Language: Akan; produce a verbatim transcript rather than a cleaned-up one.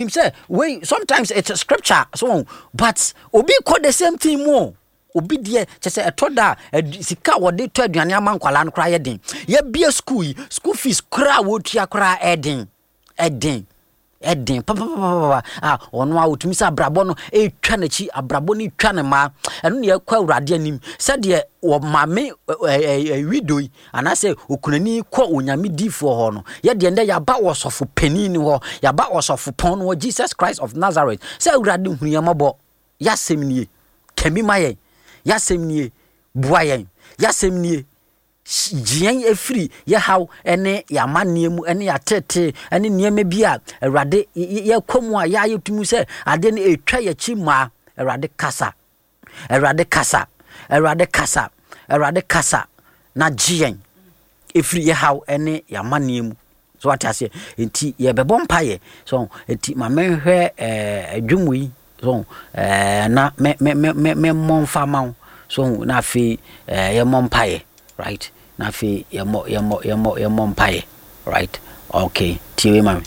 Nim sɛ wei sometimes it's a scripture so, but obi kɔ the same thing mu o. Obi deɛ kyɛ sɛ ɛtɔ da a, sika a wɔde tɔ aduane ama nkwalaa no koraa yɛ den. Yɛbie school yi, school fees koraa a wɔtua koraa ɛden ɛden ɛden papapapapa a ɔno a ɔtumi sɛ abrabɔ no ɛretwa n'akyi, abrabɔ no retwa ne mmaa. Ɛno ne yɛkɔ Awurade anim sɛdeɛ ɔmaame widow yi anaasɛ okunani kɔ Onyame difoɔ hɔ no. Yɛdeɛ ndɛ yɛaba ɔsɔfo panin no hɔ, yɛaba ɔsɔfo pɔn no hɔ, Jesus Christ of Nazareth, sɛ Awurade hunu yɛn mmɔbɔ. Yɛasɛm nie, kami ma yɛn. Yɛasɛm nie, boa yɛn. Yɛasɛm nie, gye yɛn afiri yɛ haw ne yɛ amanneɛ mu ne yɛ atetee ne nneɛma bi a Awurade yɛkɔ mu a yɛayɛ tumi sɛ adeɛ no ɛtwa yɛkyi mmaa. Awurade kasa, Awurade kasa, Awurade kasa, Awurade kasa na gye yɛn ɛfiri yɛ haw ne yɛ amanneɛ mu. So wate aseɛ? Nti yɛbɛbɔ mpaeɛ. So nti ma menhwɛ ɛɛ dwom yi so ɛɛ na me me me me memmɔ mfa ma wo so, na afei ɛɛ yɛmmɔ mpaeɛ, right? Na afei yɛmmɔ yɛmmɔ yɛmmɔ yɛmmɔ mpaeɛ, right? Okay, tie wei ma me.